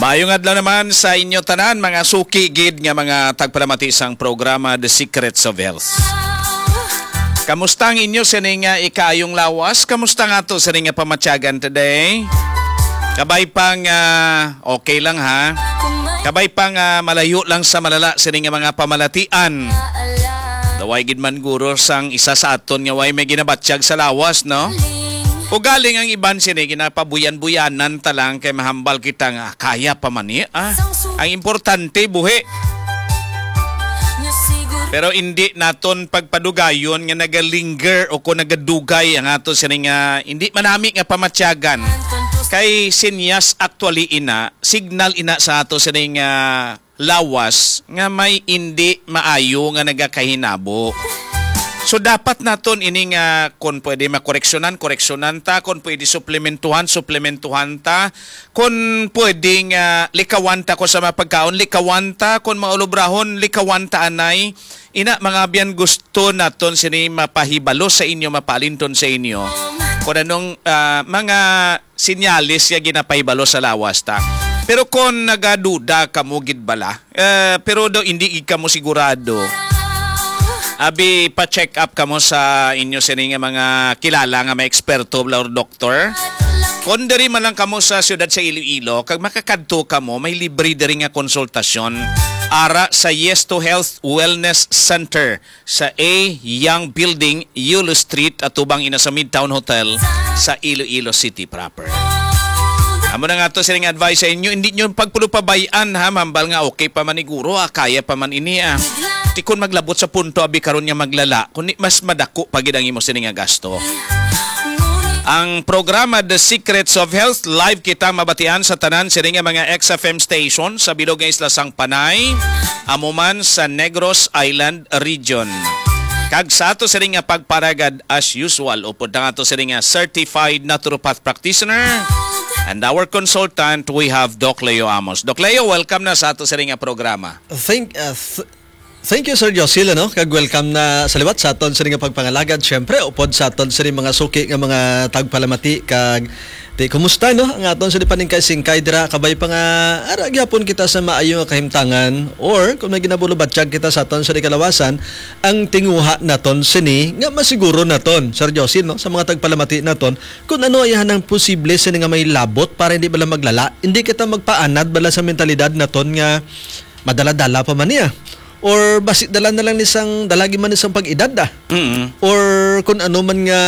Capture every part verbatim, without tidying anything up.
Maayong adlaw naman sa inyo tanan, mga suki gid nga mga tagpalamati sang programa The Secrets of Health. Kamusta ang inyo sining, ah, ikaayong lawas? Kamusta nga to sining nga pamatyagan today? Kabay pang, ah, okay lang, ha? Kabay pang, ah, malayo lang sa malala sining nga mga pamalatian. Daway gid man guro sang isa sa aton nga way may ginabatyag sa lawas, no? Ugaling ang iban sini ginapabuyan-buyanan ta lang kay mahambal kita nga kaya pa man ni, ah. Ang importante buhi. Pero indi naton pagpadugayon nga nagalinger o kung nagadugay ang ato sini nga indi manami nga pamatyagan. Kay sinyas actually ina, signal ina sa ato sini nga lawas nga may indi maayo nga nagakahinabo. So, dapat naton ini nga, kung pwede makoreksyonan, koreksyonan ta, kung pwede suplementuhan, suplementuhan ta, kung pwede nga likawan ta, kung sa mga pagkaon, likawan ta, kung mga ulubrahon, likawan ta anay. Ina, mga abyan, gusto naton sini mapahibalo sa inyo, mapalinton sa inyo. Kung anong, ah, mga sinyalis nga ginapahibalo sa lawas ta. Pero kung nagaduda kamo gid bala, eh, pero daw hindi gid kamo sigurado, abi, pa-check up kamo sa inyo sini nga mga kilala nga may eksperto bala or doktor. Kung diri man lang kamo sa siyudad sa Iloilo, kag makakadto kamo, may libre diri nga konsultasyon ara sa Yes to Health Wellness Center sa A Young Building, Yulo Street, atubang ina sa Midtown Hotel sa Iloilo City proper. Amo na nga to sining advice sa inyo, hindi nyo pagpulupabayan, ha, mambal nga okay pa man ni guro, ah, kaya pa man ini, ah. Ti kon maglabot sa punto abi karon nga maglala, kundi mas madako pa gid ang imo sini nga gasto. Ang programa The Secrets of Health, live kita mabatian sa tanan sini nga mga X F M station sa bilog nga isla sang Panay, amo man sa Negros Island region. Kag sa ato sini nga pagparagad, as usual, upod ang ato sini nga certified naturopath practitioner and our consultant, we have Doc Leo Amos. Doc Leo, welcome na sa ato sini nga programa. Thank, uh, th- thank you, Sir Josil, ano? Kag welcome na sa liwat sa aton sini nga pagpangalagad. Siyempre, upod sa aton sini mga suki nga mga tagpalamati kag Ti, kumusta, no? Ang aton sa paningkay-singkay dira, kabay pa nga ara gyapon kita sa maayo nga kahimtangan, or kung may ginabulobatyag kita sa aton sa kalawasan, ang tinguha naton sini nga masiguro naton, Sir Josil, no? Sa mga tagpalamati naton, kung ano ay hanang posible sini nga may labot para hindi bala maglala, hindi kita magpaanad bala sa mentalidad naton nga madala-dala pa man niya. Or basi dala na lang ni sang, dalagi man ni sang pag-edad, ah. Mm. Or kung ano man nga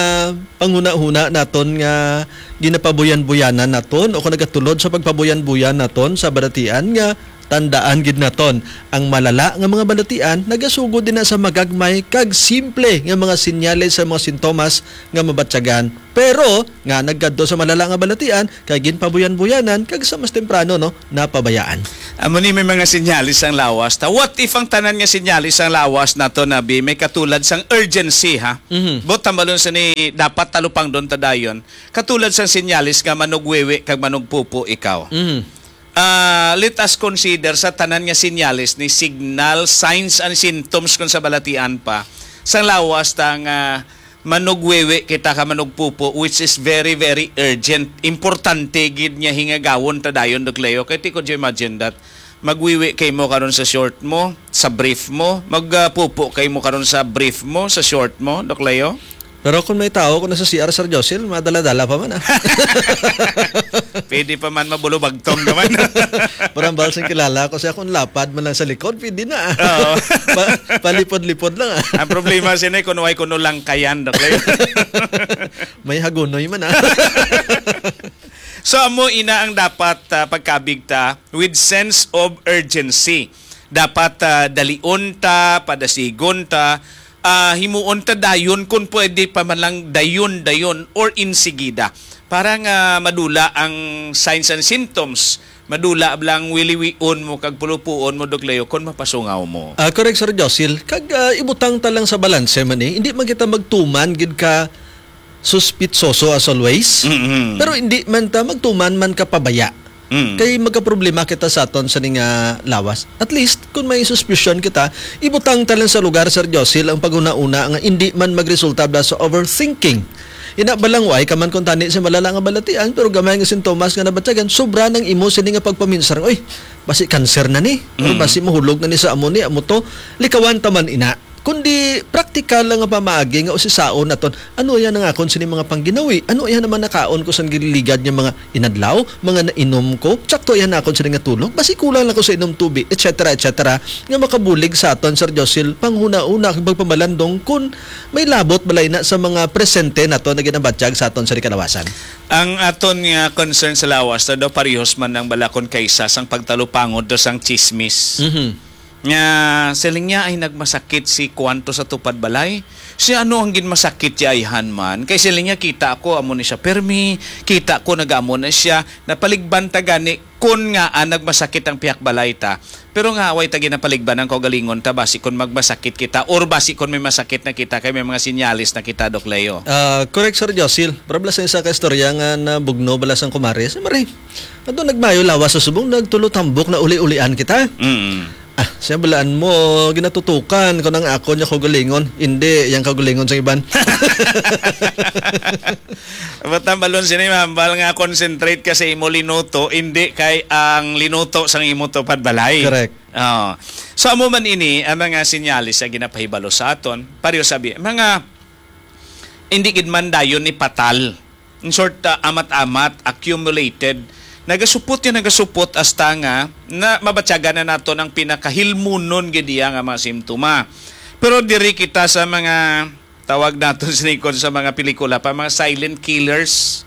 panghuna-huna naton nga ginapabuyan-buyanan naton o kung nagatulod sa pagpabuyan-buyan naton sa balatian nga tandaan gid naton, ang malala nga mga balatian nagasugod din na sa magagmay kag simple nga mga sinyales sa mga sintomas nga mabatyagan, pero nga nagkadto sa malala nga balatian kay ginpabuyan-buyanan kag sa mas temprano, no, napabayaan. Amo ni may mga sinyalis ang lawas ta. What if ang tanan nga sinyalis ang lawas nato, nabi, may katulad sang urgency, ha? Mhm. But tambalon sa ni dapat talupangdon ta dayon. Katulad sang sinyalis nga manugwiwi kag manugpupo ikaw. Mhm. Ah, let us consider sa tanan nga sinyalis ni signal, signs and symptoms kung sa balatian pa. Sang lawas ta nga manugwiwi kita ka manugpupo, which is very, very urgent. Importante gid nga hingagawon ta dayon, Doc Leo. Kay ti, could you imagine that? Magwiwi kay mo karon sa short mo, sa brief mo, magpupo kay mo karon sa brief mo, sa short mo, Doc Leo? Pero kung may tao, kung nasa C R, Sir Josil, madala-dala pa man, ah. Pwede pa man mabulubagtong naman. Parang bahal sing kilala ko siya, kung lapad man lang sa likod, pwede na, ah. Oo. Pa-, palipod-lipod lang, ah. Ang problema, sini, kung way kuno lang kayan, Doc Leo. May hagunoy man, ah. So, amo ina ang dapat, ah, pagkabig ta with sense of urgency. Dapat, ah, dalion ta, padasigon ta, ah, himuon ta dayon, kung pwede pa man lang dayon-dayon or insigida. Para nga madula ang signs and symptoms, madula lang wiliwion mo kag pulupuon mo, Doc Leo, kung mapasungaw mo. Ah, correct, Sir Josil. Kag, ah, ibutang ta lang sa balanse man, eh. Hindi man kita magtuman gid ka suspitsoso as always. Mm-hmm. Pero hindi man ta magtuman man ka pabaya. Mm. Kay magkaproblema kita sa aton sa ning, ah, lawas. At least, kung may suspicion kita, ibutang ta lang sa lugar, Sir Josil, ang paghuna-una nga hindi man magresulta bala sa overthinking. Ina, balangway ka man kung tani sa malala nga balatian, pero gamay nga sintomas nga nabatyagan, sobra nang imo sini nga pagpaminsar, "Uy, basi cancer na ni, or Mm. basi mahulog na ni sa amo ni, amo to." Likawan ta man ina. Kundi praktikal lang nga pamaagi nga usisaon naton, "Ano iya nang akon sini mga pangginawi? Ano iya naman nakaon ko sang gililigad nga mga inadlaw, mga nainom ko? Tsakto iya na akon sini nga tulog? Basi kulang lang ko sa inom tubig," et cetera, et cetera, nga makabulig sa aton, Sir Josil, panghuna-una kag pagpamalandong kun may labot balay na sa mga presente naton nga ginabatyag sa aton sa kalawasan. Ang aton nga concern sa lawas na daw parehos man ang balakon kaysa sang pagtalupangod do sang chismis. Mhm. Nga siling niya ay nagmasakit si kuwanto sa tupad balay. Si ano ang ginmasakit si ayhan man? Kay siling niya, "Kita ko amo ni siya permi, kita ko nagamo na siya." Napaligban ta gani kun nga, ah, nagmasakit ang pihak balay ta. Pero nga, way ta ginapaligban ang kaugalingon ta, basi kun magmasakit kita, or basi kun may masakit na kita, kay may mga sinyalis na kita, Doc Leo. Ah, correct, Sir Josil. Para bala sa isa ka istorya nga nabugno bala sang kumare. Si Mare, ato nagmayo lawas sa subong, nagtulo tambok na uli-ulian kita. Mm. Ah, siya balaan mo, ginatutukan ko nang akon niya kaugalingon. Hindi, yang kaugalingon sa iban. Ba't ang balon sini, mahambal nga concentrate ka sa imo linuto, hindi kay ang linuto sang imo tupad balay. Correct. Oo. So, amo man ini ang mga sinyalis sa ginapahibalo sa aton. Pareho sabi, mga hindi gid man dayon ni patal. In short, uh, amat-amat, accumulated. Nagasupot yan, nagasupot hasta nga na mabatyagan na naton ang pinakahilmunon gid iya nga mga simptoma. Pero diri kita sa mga tawag nato sini kon sa mga pelikula pa, mga silent killers.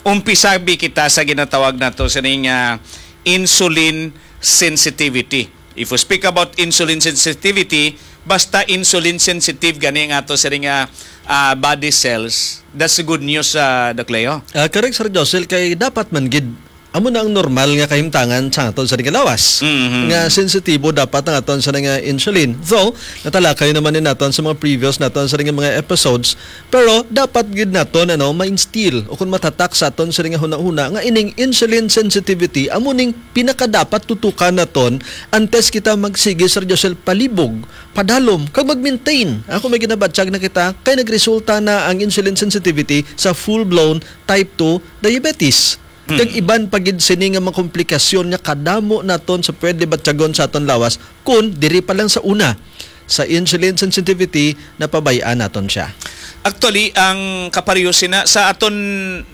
Umpisabi kita sa ginatawag nato sining, ah, insulin sensitivity. If we speak about insulin sensitivity, basta insulin sensitive gani nga ato sining, ah, ah, body cells, that's good news, ah, Doc Leo. Ah, correct, Sir Josel, kay dapat man gid amo na ang normal nga kahimtangan sa aton sa nga lawas. Mhm. Nga sensitibo dapat ang aton sa nga insulin. Though, natalakay naman ni naton sa mga previous naton sa nga mga episodes, pero dapat gid naton, ano, ma-instill o kung matatak sa aton sa nga hunahuna nga ining insulin sensitivity amo ning pinakadapat tutukan naton antes kita magsigi, Sir Josel, palibog, padalom, kag mag-maintain. Ako may ginabatyag na kita kay nagresulta na ang insulin sensitivity sa full-blown type two diabetes. Hmm. Kag iban pa gid sini nga mga komplikasyon nga kadamo naton sa pwede batyagon sa aton lawas kun diri pa lang sa una sa insulin sensitivity napabay-an naton siya. Actually, ang kapareho sina sa aton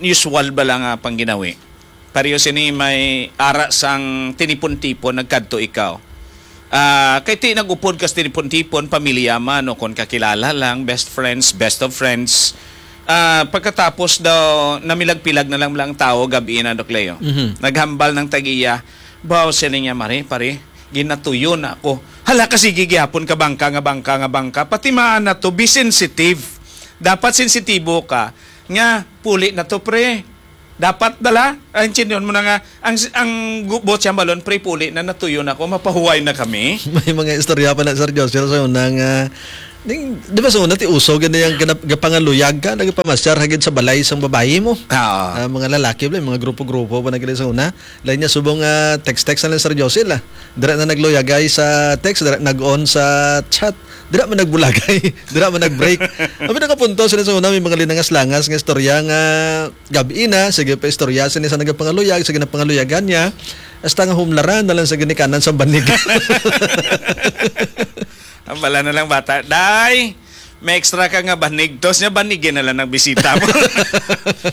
usual bala nga pangginawi. Pareho sini may ara sang tinipon-tipon nagkadto ikaw. Ah, kay ti nag-upod ka sa tinipon-tipon, pamilya man o kon kakilala lang, best friends, best of friends. Ah, pagkatapos daw, namilag-pilag na lang lang tao, gabi na, Doc Leo. Mhm. Naghambal ng tag-iya, "Baw," siling niya, "Mare, pare, ginatuyo na ako." Hala ka, sige gihapon ka bangka nga bangka nga bangka. Pati maan na to, be sensitive. Dapat sensitibo ka nga, "Puli na to, pre. Dapat dala." Ang intindihan mo na nga, ang, ang gu-, buot siyang balon, "Pre, puli na, natuyo na ako, mapahuway na kami." May mga istorya pa na, Sir Josel, sa una nga, ning, di ba sa una, ti uso, gani ang ganap-, gapangaluyag ka, nagpamasyar hagid sa balay sang babayi mo. Oo. Ah, mga lalaki, bala, mga grupo-grupo pa na gani sa una. Lain niya subong, ah, text-text na lang, Sir Josel, ah. Dira na nagluyagay sa text, dira nag-on sa chat. Dira man nagbulagay, dira man nag-break. Abi nakapunto sila sa una, may mga linangas-langas nga istorya nga gabi na, sige pa istorya sini sa nagapangaluyag, sa ginapangaluyagan niya. Hasta nga humlaran na lang sa ginikanan sa banig. Ang bala na lang bata, "Day, may extra ka nga banig." Tos niya, banigin na lang ng bisita mo.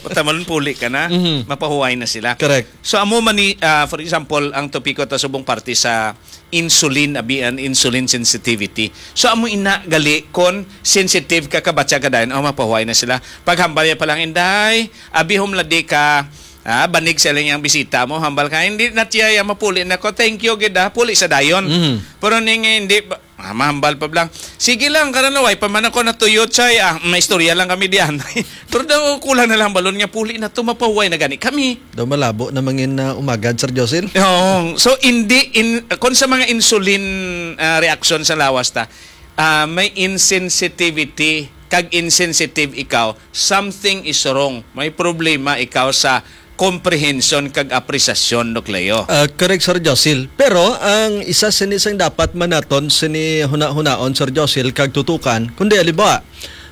Putamalon, puli ka na. Mhm. Mapahuway na sila. Correct. So, amo man ni, ah, for example, ang topiko ta subong parte sa insulin, abi, an insulin sensitivity. So, amo ina gali kon sensitive ka, kabatya ka dayon, oh, mapahuway na sila. Paghambal niya pa lang, "Inday, abi, humladi ka, ah, banig sa ilang bisita mo, hambal ka, hindi na tiya, ya, mapuli na ko, thank you, gid, ah, puli sa dayon." Mhm. Pero ning hindi, ba-, ah, mahambal pa lang, "Sige lang, karano, way pa man ako natuyot, say, ah, may istorya lang kami diyan." Pero daw, kulang na lang balon nga, "Puli na to, mapahuway na gani kami." Daw malabo na mangin na umagad, Sir Josil. Oo. So, hindi in, kung sa mga insulin, ah, reaction sa lawas ta, ah, may insensitivity, kag insensitive ikaw, something is wrong. May problema ikaw sa comprehension kag apresasyon, Doc Leo. Ah, correct, Sir Josil. Pero ang isa sini sang dapat man naton sini huna-hunaon, Sir Josil, kag tutukan, kundi, halimbawa,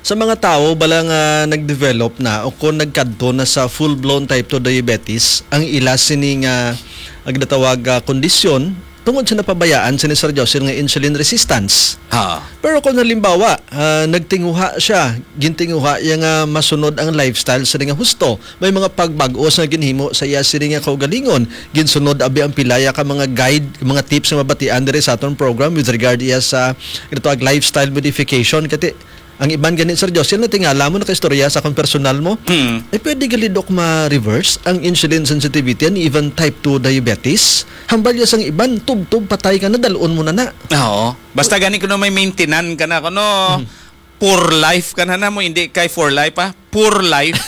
Sa mga tawo bala nga nag-develop na o kon nagkadto na sa full-blown type two diabetes, ang ila sini nga, ang ginatawag, ah, kondisyon tungod sa napabayaan sini, Sir Josil, nga insulin resistance. Ha. Pero kung halimbawa, ah, nagtinguha siya, gintinguha iya nga masunod ang lifestyle sini nga husto, may mga pagbag-o sa ginhimo sa iya sini nga kaugalingon, ginsunod abi ang pilaya ka mga guide, mga tips nga mabatian diri sa aton program with regard iya sa ginatawag lifestyle modification. Kati ang iban gani, Sir Josil, natingala mo, nakaistorya sa akong personal mo, Hmm. eh, pwede gali, Doc, ma-reverse ang insulin sensitivity and even type two diabetes? Hambal ya sang iban, tubtob patay ka na, dalon mo na na. Oo. Basta gani kuno may maintenance ka na, kuno Hmm. poor life ka na na mo, hindi kay for life, ah. Poor life.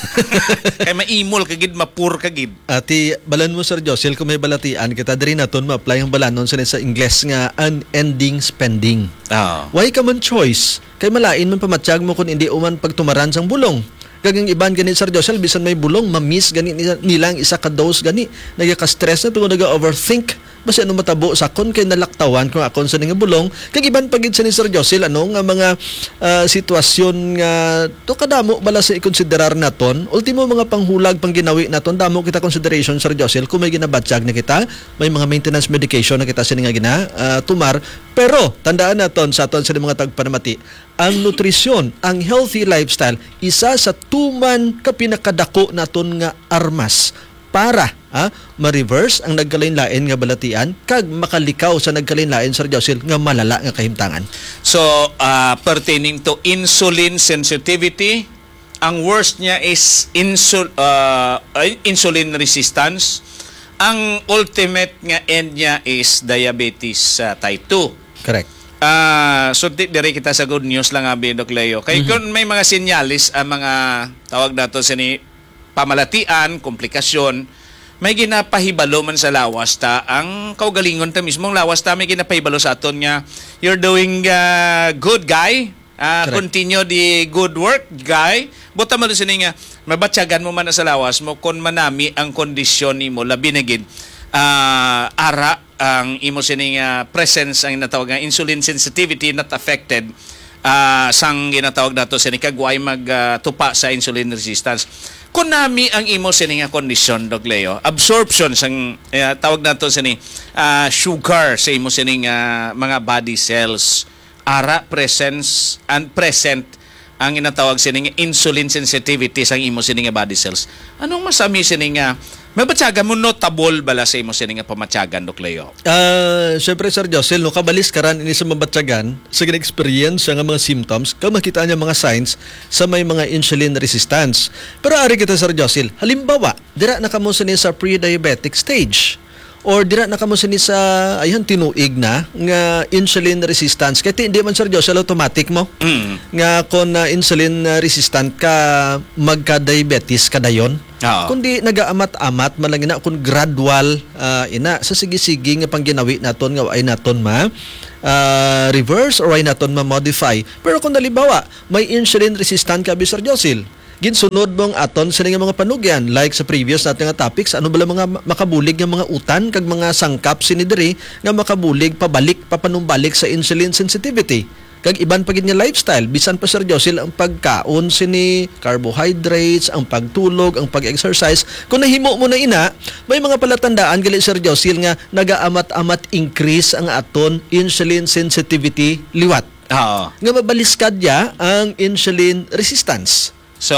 Kay maimol ka gid, ma-poor ka gid. Ati, balan mo, Sir Josil, kung may balatian kita, diri naton ma-apply ang balanon sa, sa Ingles nga unending spending. Oo. Why ka man choice? Kay malain man pamatyag mo kung hindi uman pagtumaran sang bulong. Kag ang iban gani, Sir Josel, bisan may bulong, ma-miss gani nila, nila ang isa ka dose gani. Nagaka-stress na tungod naga-overthink. Basi ano matabo sa kon kay nalaktawan ko akon sa nga bulong. Kag iban pa gid sa ni Sir Josel, ano, nga mga, ah, sitwasyon nga to kadamo bala sa ikonsiderar naton. Ultimo, mga panghulag, pangginawi naton, damo kita consideration, Sir Josel, kung may ginabatyag na kita, may mga maintenance medication na kita sini nga gina, ah, tumar. Pero tandaan naton sa aton sa mga tagpanamati, ang nutrisyon, ang healthy lifestyle, isa sa tuman ka pinakadako naton nga armas para, ha, ma-reverse ang nagkalain-lain nga balatian kag makalikaw sa nagkalain-lain, Sir Josil, nga malala nga kahimtangan. So, ah, pertaining to insulin sensitivity, ang worst niya is insul-, ah, ay, insulin resistance. Ang ultimate nga end niya is diabetes, ah, type two. Correct. Ah, so, di, diri kita sa good news lang, abi, Doc Leo. Kay Mhm. Kung may mga sinyalis ang mga tawag nato sini pamalatian, komplikasyon, may ginapahibalo man sa lawas ta, ang kaugalingon ta mismo, ang lawas ta may ginapahibalo sa aton nga, "You're doing, ah, good, guy. Ah, Correct. Continue the good work, guy." Buta man sini nga, mabatyagan mo man na sa lawas mo kung manami ang kondisyon nimo, labi na gid, ah, ara ang imo sining, ah, presence, ang natawag nga insulin sensitivity not affected, ah, sang ginatawag nato sini kag way mag, ah, tupa sa insulin resistance. Kung nami ang imo sini nga kondisyon, Doc Leo, absorption sang, eh, tawag nato sini, ah, sugar sa imo sining, ah, mga body cells, ara presence and present ang ginatawag sini nga insulin sensitivity sang imo sini nga body cells. Anong masami sini nga mabatyagan mo, notable bala sa imo sini nga pamatyagan, Doc Leo? Ah, syempre, Sir Josel, no, kabaliskaran ini sa mabatyagan sa gina-experience siya nga mga symptoms, kag makita niya mga signs sa may mga insulin resistance. Pero ari kita, Sir Josel, halimbawa, dira na kamo sini sa pre-diabetic stage. Or dira na kamo sini sa, ayhan, tinuig na nga insulin resistance. Kay ti-, di man, Sir Josel, automatic mo Mm. nga kon, ah, insulin, ah, resistant ka, magka-diabetes ka dayon. Oo. Kundi nagaamat-amat man lang ina, kun gradual, ah, ina, sa sige-sige nga pangginawi naton nga way naton ma, ah, reverse or way naton ma-modify. Pero kung halimbawa, may insulin resistant ka, bi, Sir Josil, ginsunod mo ang aton sini nga mga panugyan, like sa previous natin nga topics, ano bala mga ma-, makabulig nga mga utan kag mga sangkap sini diri nga makabulig pabalik, papanumbalik sa insulin sensitivity? Kag iban pa gid nga lifestyle, bisan pa, Sir Josil, ang pagkaon sini, carbohydrates, ang pagtulog, ang pag-exercise, kung nahimo mo na ina, may mga palatandaan gali, Sir Josil, nga nagaamat-amat increase ang aton insulin sensitivity liwat. Oo. Nga mabaliskad ya ang insulin resistance. So,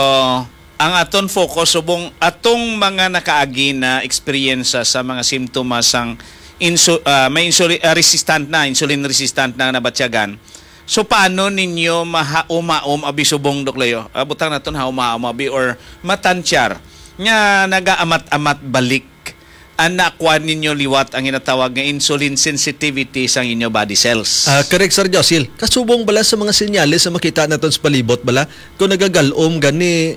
ang aton focus subong atong mga nakaagi na eksperyensya sa mga simptomas sang insu-, ah, may insuli-, ah, resistant na, insulin resistant na nabatyagan. So, paano ninyo mahaom-haom abi subong, Doc Leo? Ah, butang naton haom-haom abi or matansyar nga nagaamat-amat balik ang nakuha ninyo liwat ang ginatawag nga insulin sensitivity sang inyo body cells. Ah, correct, Sir Josil. Kasubong bala sa mga senyales nga makita naton sa palibot bala, kung nagagalom gani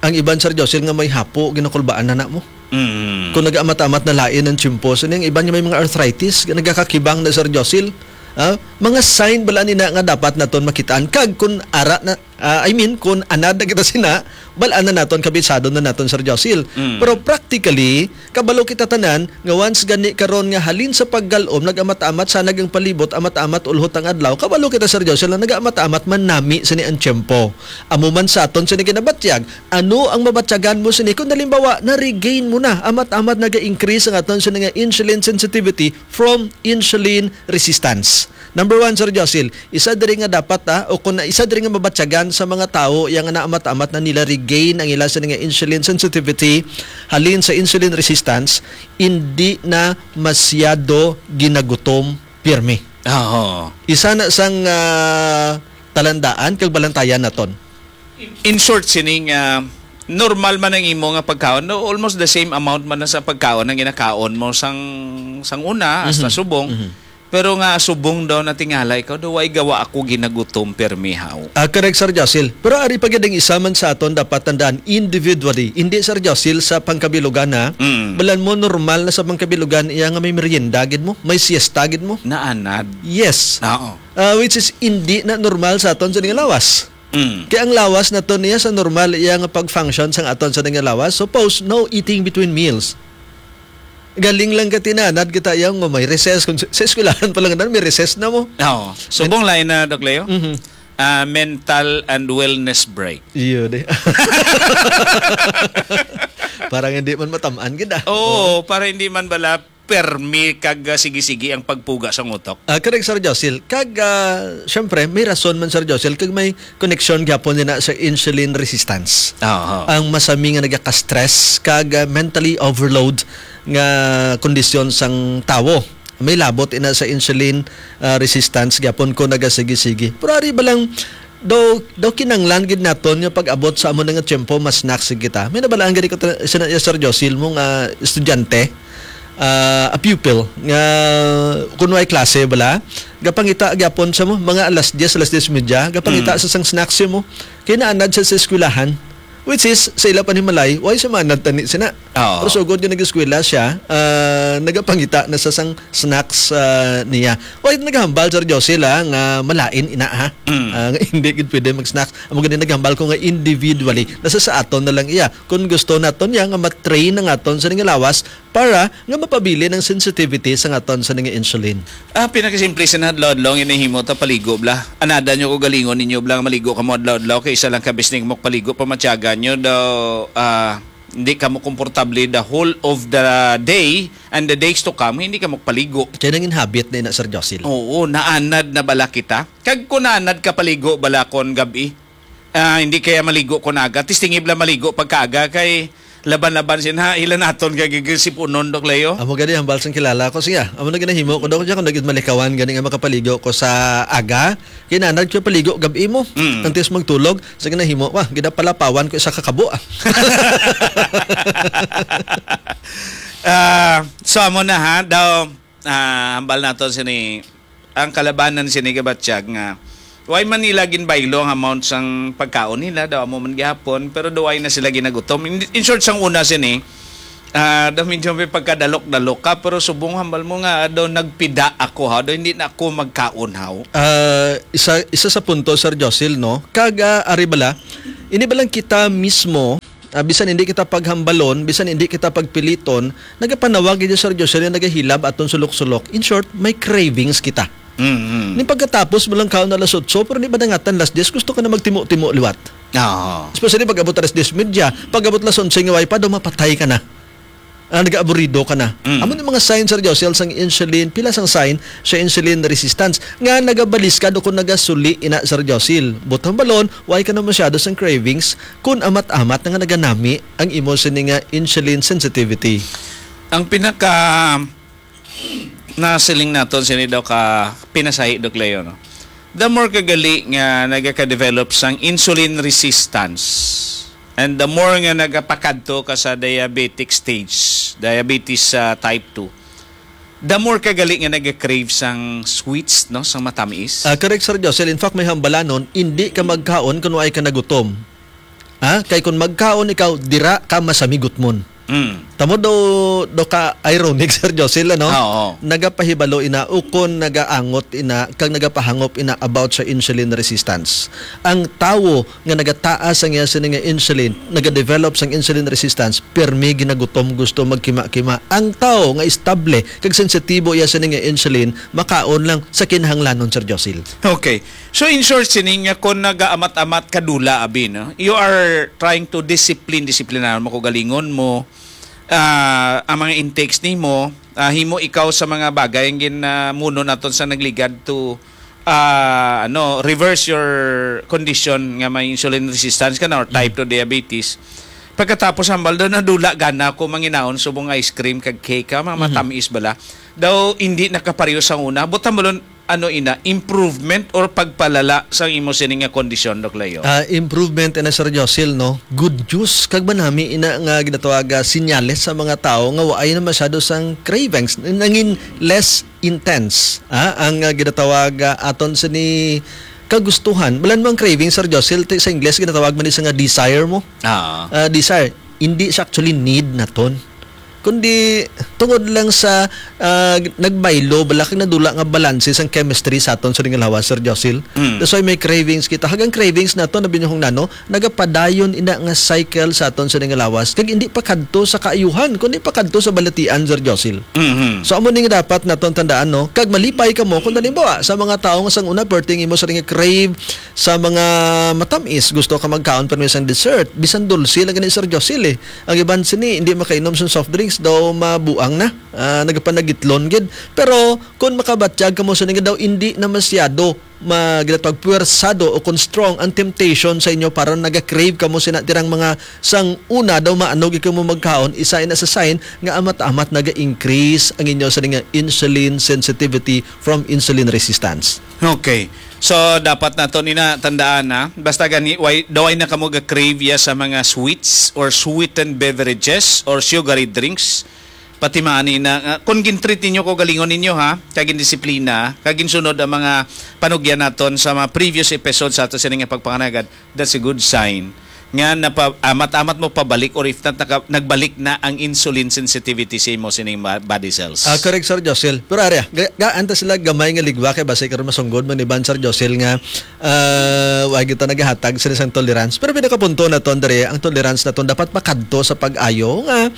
ang iban, Sir Josil, nga may hapo, ginakulbaan na na mo. Mm. Kung nag-amat-amat na lain ang tiyempo, so, ang iban nga may mga arthritis, nga nagakakibang na, Sir Josil, ah, Mga sign bala ni na nga dapat naton makitaan, kag kun ara na, ah, I mean, kun anad na kita sina, bal-an na naton, kabisado na naton, Sir Josil. Mm. Pero practically, kabalo kita tanan nga once gani karon nga halin sa paggal-om, nag-amat-amat sana ang palibot, amat-amat ulhot ang adlaw, kabalo kita, Sir Josil, nga nag-amat-amat man nami sini ang tiyempo. Amo man sa aton sini ginabatyag, ano ang mabatyagan mo sini kung halimbawa na-regain mo na, amat-amat naga-increase ang aton sini nga insulin sensitivity from insulin resistance? Number one, Sir Josil, isa diri nga dapat, ah, o kung isa diri nga mabatyagan sa mga tawo yang naamat-amat na nila regain ang ila sini nga insulin sensitivity halin sa insulin resistance, hindi na masyado ginagutom pirmi. Oo. Isa na sang, ah, talandaan kag balantayan naton. In short, sining, ah, normal man ang imo nga pagkaon, no, almost the same amount man na sa pagkaon ang ginakaon mo sang, sang una, hasta Mhm. subong. Mhm. Pero nga subong daw natingala ikaw, daw way gawa ako ginagutom, pirmi haw. Ah, correct, Sir Josil. Pero ari pa gid ang isa man sa aton dapat tandaan individually. Hindi, Sir Josil, sa pangkabilugan, ha? Mm. Balan mo, normal na sa pangkabilugan iya nga may merienda gid mo, may siesta gid mo. Naanad. Yes. Oo. Ah, which is hindi na normal sa aton sa nga lawas. Mm. Kaya ang lawas naton niya sa normal iya nga pag-function sang aton sa nga lawas. Suppose, no eating between meals. Galing lang ka tinanad kita yang may recess. Kung sa, sa eskwelahan pa lang na, may recess na mo. Oo. Subong lain na, Doc Leo. Mhm. Ah, mental and wellness break. Iyo, di. Parang hindi man matamaan gid, ah. Oo, para hindi man bala permi kag, ah, sige-sige ang pagpuga sa utok. Ah, correct, Sir Josil. Kag, ah, syempre, may rason man, Sir Josil, kag may koneksyon gyapon nina sa insulin resistance. Aha. Ang masami nga nagaka-stress kag, ah, mentally overload nga kondisyon sang tawo. May labot ina sa insulin, ah, resistance gyapon ko nagasigi-sigi. Pero ari ba lang, daw, daw kinanglan gid naton nga pag-abot sa amo na nga tiyempo, mas snacks gid kita. May nabalaan gani ko ta-, sina-, Sir Josil, mong, ah, estudyante, ah, a pupil, nga kun way klase bala, gapangita gyapon sa mo, mga alas diyes, alas diyes medya, gapangita Mm. sa sang snacks mo. Kay naanad sa, sa eskwelahan, which is, sa ila panimalay, way sa maanad tani sina. Oo. Pero sugod nga nag-eskwela siya, ah, nagapangita na sa sang snacks, ah, niya. Way naghambal, Sir Josil, ah, nga malain ina, ha? Mm. Ah, nga hindi gid pwede mag-snacks. Amo gani naghambal ko nga individually, nasa sa aton na lang iya. Kung gusto naton niya nga matrain ang aton sa nga lawas, para nga mapabilin ang sensitivity sa aton sa nga insulin. Ah, pinakasimple sa adlaw-adlaw nga nahimo ta paligo bla. Anada nyo ko galingon ninyo bla nga maligo ka mo adlaw-adlaw kay isa lang ka bisning mo paligo pamatyagan nyo daw, ah, hindi ka mo komportable the whole of the day and the days to come, hindi ka mo paligo. Kaya nangin habit na ina, Sir Josil. Oo, naanad na bala kita. Kag kung naanad ka paligo bala kon gabi, ah, hindi kaya maligo ko naga. Tistingib lang maligo pagkaaga kay laban-laban sin ha, ila naton kay gigisipunon, Doc Leo. Amo gani ang balsang kilala ko siya. Amo na ginahimo ko daw siya kung nagit malikawan gani nga makapaligo ko sa aga. Kinanad ko paligo gabi mo. Mm. Antes magtulog, sa ginahimo ko, ah, ginapalapawan ko isa ka kabo, ah. Ah, so amo na ha, daw, ah, hambal naton sini, ang kalabanan sini gabatyag nga way man nila ginbaylo ang amount sang pagkaon nila, daw amo man gihapon, pero daw way na sila ginagutom. In, in short, sang una sini, ah, daw medyo may pagkadalok-dalok ka, pero subong hambal mo nga daw nagpida ako, ha, daw hindi na ako magkaon, haw. Ah, isa, isa sa punto, Sir Josil, no? Kag, ah, ari bala, ini ba lang kita mismo, ah, bisan hindi kita paghambalon, bisan hindi kita pagpiliton, nagapanawag gid, Sir Josil, nga nagahilab aton sulok-sulok. In short, may cravings kita. Mm-hmm. Ni pagkatapos mo lang kaon alas otso, pero ni madangatan alas diyes, gusto ka na magtimo-timo liwat. Oo. Especially pag abot alas diyes medya, pag abot alas onse nga way pa, daw mapatay ka na. Ah, nag-aaburido ka na. Mm. Amo ni mga signs, Sir Josil, sang insulin, pila sang sign sa insulin resistance nga nagabalis ka do kung nagasuli ina, Sir Josil. Butang balon, way ka na masyado sang cravings kung amat-amat na nga naganami ang imo sini nga insulin sensitivity. Ang pinaka nasiling naton sini daw ka pinasahi, Doc Leo, no? The more kagali nga nagaka-develop sang insulin resistance, and the more nga nagapakadto ka sa diabetic stage, diabetes, ah, type two, the more kagali nga nag-crave sang sweets, no, sang matamis. Ah, correct, Sir Josel. In fact, may hambalanon, hindi ka magkaon kung way ka nagutom. Ha? Kay kung magkaon ikaw, dira ka masamigutmon. Mm. Tamo daw, daw ka ironic, Sir Josil, ano? Oo. Nagapahibalo ina, ukon nagaangot ina, kag nagapahangop ina about sa insulin resistance. Ang tawo nga nagataas ang iya sini nga insulin, nagadevelop sang insulin resistance, pirmi ginagutom, gusto magkima-kima. Ang tawo nga estable kag sensitibo iya sini nga insulin, makaon lang sa kinahanglanon, Sir Josil. Okay. So, in short, sini nga kung nagaamat-amat ka dula, abi, no? You are trying to discipline, disiplinahan mo kaugalingon mo, ah, ang mga intakes nimo, ah, himo ikaw sa mga bagay ang ginamuno naton sa nagligad to, ah, ano, reverse your condition nga may insulin resistance ka na or type two diabetes. Pagkatapos, hambal daw, nadula gana ko manginaon subong ice cream kag cake, ha, mga Mhm. matamis bala. Daw, hindi nakapareho sa una. But, hambalon, ano ina, improvement or pagpalala sa imo sini nga kondisyon, Doc Leo? Ah, improvement ina, Sir Josil, no? Good news. Kag manami ina nga ginatawag, ah, sinyales sa mga tawo nga waay na masyado sang cravings. Nangin less intense, ah, ang, ah, ginatawag, ah, aton sini kagustuhan. Balan mo ang cravings, Sir Josil, ti-, sa Ingles ginatawag man ni sa nga desire mo. Ah. Ah, desire. Hindi siya actually need naton. Kundi tungod lang sa, ah, nagbaylo, bala kag nadula nga balanse sang chemistry sa aton sa nga lawas, Sir Josil. Mm. That's why may cravings kita. Hagang cravings nato, nabinyuhong nano, nagapadayon ina nga cycle sa aton sa nga lawas. Kag hindi pa kadto sa kaayuhan, kundi pa kadto sa balatian, Sir Josil. Mhm. So, amo ni nga dapat naton tandaan, no? Kag malipay kamo kung halimbawa, sa mga tawo nga sang una, perting imo sa nga crave sa mga matamis, gusto ka magkaon pa sang dessert, bisan dulce lang gani, Sir Josil, eh. Ang iban sini, hindi makainom sang soft drinks, daw mabuang na. Ah, nagapanagitlon gid. Pero kung makabatyag kamo sini nga daw, hindi na masyado ma-, ginatawag puwersado o kung strong ang temptation sa inyo para naga-crave kamo sina tirang mga sang una daw maano gid kamo magkaon, isa ina sa sign nga amat-amat naga-increase ang inyo sini nga insulin sensitivity from insulin resistance. Okay. So, dapat nato ni na tandaan na, basta gani, why, daw ay na kamo ga-crave ya sa mga sweets or sweetened beverages or sugary drinks, pati maani na, nga, kung gintreat ninyo kaugalingon ninyo, ha, kag gindisiplina, kag ginsunod ang mga panugyan naton sa mga previous episodes sa ato sini nga pagpanganagad, that's a good sign nga napa-, amat-amat mo pabalik or if not, naka-, nagbalik na ang insulin sensitivity sa imo sining ba-, body cells. Ah, correct, Sir Josil. Pero ari, ga-, gaan ta sila gamay nga ligwa kay basi karon masunggod man ni Ban, Sir Josil, nga, ah, wa kita nagahatag sa isang tolerance. Pero pinakapunto naton diri, ang tolerance naton dapat makadto sa pag-ayo nga,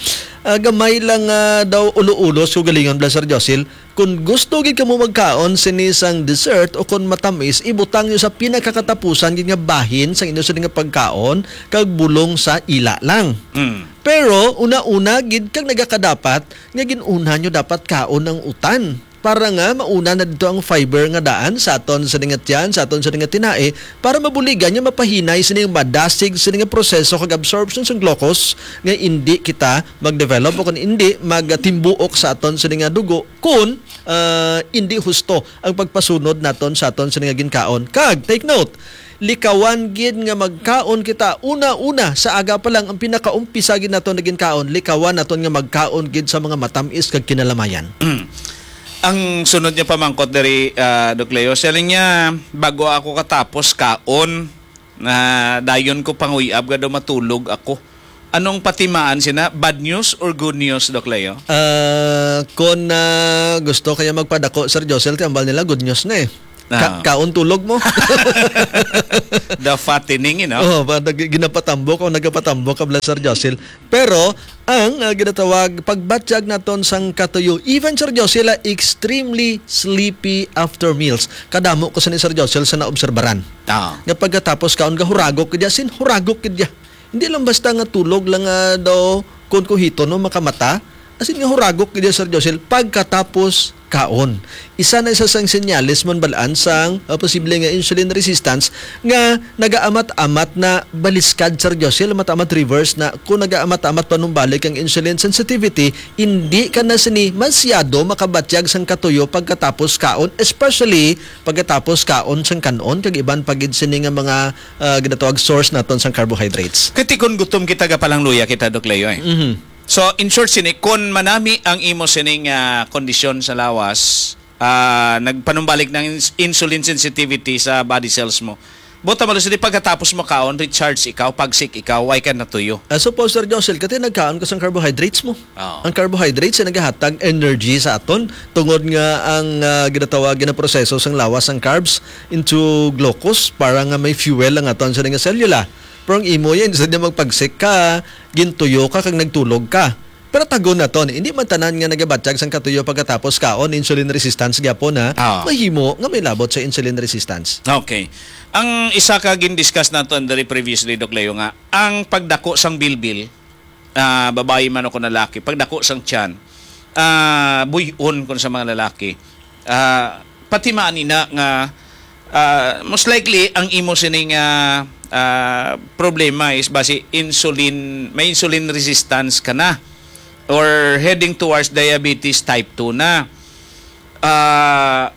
ah, gamay lang, ah, daw ulo-ulo sa kaugalingon bala, Sir Josil. Kung gusto gid kamo magkaon sini sang dessert o kon matamis, ibutang nyo sa pinakakatapusan gid nga bahin sang inyo sini nga pagkaon kag bulong sa ila lang. Mm. Pero una-una gid kag nagakadapat nga gin-una nyo dapat kaon ang utan para nga mauna na dito ang fiber nga daan sa aton sini nga tiyan, sa aton sini nga tinai, para mabuligan nga mapahinay sini nga madasig sini nga proseso kag absorption sang glucose nga indi kita mag-develop o kung indi magtimbuok sa aton sini nga dugo kung, ah, indi husto ang pagpasunod naton sa aton sini nga ginkaon. Kag, take note, likawan gid nga magkaon kita una-una sa aga pa lang ang pinakaumpisa gid naton nga ginkaon, likawan naton nga magkaon gid sa mga matamis kag kinalamayan. Ang sunod niya pamangkot diri, ah, Doc Leo, siya lang niya, "Bago ako katapos kaon, na dayon ko panguyab nga daw matulog ako." Anong patimaan sina? Bad news or good news, Doc Leo? Ah, kung, ah, gusto kaya magpadako, Sir Josel, ti ambal nila, good news na eh. Ka-, Ah. kaon tulog mo. The fattening, you know? Oh, pa-, nag-, ginapatambok o nagapatambok ka bala, Sir Josel. Pero, ang, ah, ginatawag, pagbatyag naton sang katuyo, even, Sir Josel, ah, extremely sleepy after meals. Kadamo ko sa ni Sir Josel sa naobserbaran. Ah. Nga pagkatapos kaon, gahuragok ka dya, sin huragok ka dya. Hindi lang basta nga tulog lang nga daw kun kuhiton, no, makamata. As in nga huragok gid, Sir Josel, pagkatapos kaon. Isa na isa sang senyales man balaan sang, uh, posible nga insulin resistance nga nagaamat-amat na baliskad, Sir Josel, amat-amat reverse na kung nagaamat-amat panumbalik ang insulin sensitivity, hindi ka na sini masyado makabatyag sang katuyo pagkatapos kaon, especially pagkatapos kaon sang kanon kag iban pa gid sini nga mga, uh, ginatawag source naton sang carbohydrates. Kay ti kon gutom kita, gapalangluya kita, Doc Leo, eh. Mhm. So, in short, sini, kon manami ang imo sining, ah, kondisyon sa lawas, ah, nagpanumbalik ng ins-, insulin sensitivity sa body cells mo, Buta mo, Lucy, di pagkatapos mo kaon, recharge ikaw, pagsik ikaw, why ka natuyo? Ah, suppose, Sir Josel, kati nagkaon ka sang carbohydrates mo. Oo. Ang carbohydrates ay nagahatag energy sa aton tungod nga ang ah, ginatawag, ginaproseso sang lawas ang carbs into glucose para nga may fuel ang aton sa nga selula. Pero ang imo yan, instead na magpagsik ka, gintuyo ka kag nagtulog ka. Pero tagon naton, hindi man tanan nga nagabatyag sang katuyo pagkatapos kaon, insulin resistance gyapon, ha. Ah. Mahimo nga may labot sa insulin resistance. Okay. Ang isa ka gin-discuss naton diri previously, Doc Leo, nga ang pagdako sang bilbil, ah, babayi man o kung lalaki, pagdako sang tiyan, ah, buy-on kun sa mga lalaki. Ah, pati man ina nga ah, most likely ang imo sining ah, ah, problema is basi insulin, may insulin resistance ka na or heading towards diabetes type two na. Ah,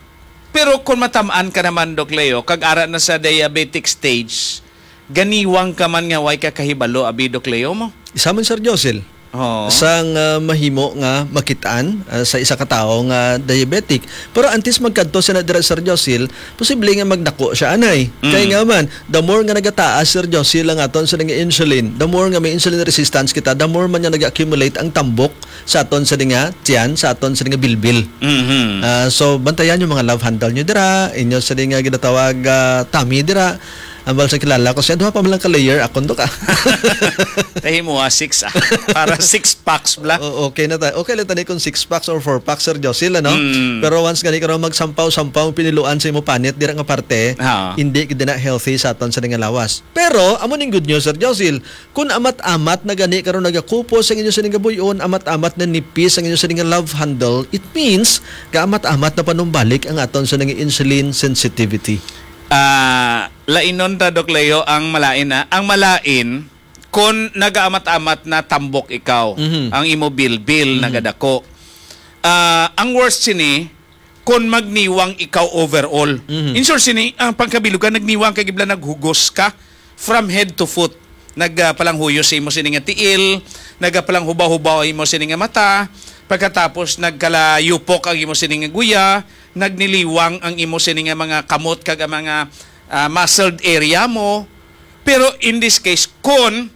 pero kung matamaan ka naman, Doc Leo, kag ara na sa diabetic stage, ganiwang ka man nga way ka kahibalo, abi, Doc Leo mo? Isa man, Sir Josel, Oo. sang ah, mahimo nga makitaan ah, sa isa ka tawo nga diabetic. Pero antes magkadto sina dira, Sir Josil, posible nga magdako siya anay. Mm. Kay nga man, the more nga nagataas, Sir Josil, ang aton sa nga insulin, the more nga may insulin resistance kita, the more man nga nag-accumulate ang tambok sa aton sa nga tiyan, sa aton sa nga bilbil. Mhm. Ah, so bantayan yung mga love handle nyo dira, inyo sa nga ginatawag ah, tummy dira. Ambal sa kilala ko siya, duha pa man lang ka layer, akon to ka. Tahi mo ah, six ah. Para six packs bla. O- okay na ta. Okay lang tani kung six packs or four packs, Sir Josil, ano? Mm. Pero once gani karon magsampaw-sampaw ang piniluan sa imo panit dira nga parte, Ah. hindi gid na healthy sa aton sa nga lawas. Pero amo ning good news, Sir Josil, kung amat-amat na gani karon nagakupos ang inyo sa nga buyon, amat-amat na nipis ang inyo sa nga love handle, it means kaamat-amat na panumbalik ang aton sa nga insulin sensitivity. Ah, lainon ta, Doc Leo, ang malain na. Ang malain, kon nagaamat-amat na tambok ikaw, Mhm. ang imo bilbil nagadako. Ah, ang worst sini, kon magniwang ikaw overall. Mhm. In short sini, ang pangkabilugan, nagniwang ka gibla, naghugos ka from head to foot. Nagpalanghuyo sa imo sini nga tiil, nagapalanghubaw-hubaw ang imo sini nga mata, pagkatapos nagkalayupok ang imo sini nga guya, nagniliwang ang imo sini nga mga kamot kag ang mga ah, muscled area mo. Pero in this case, kon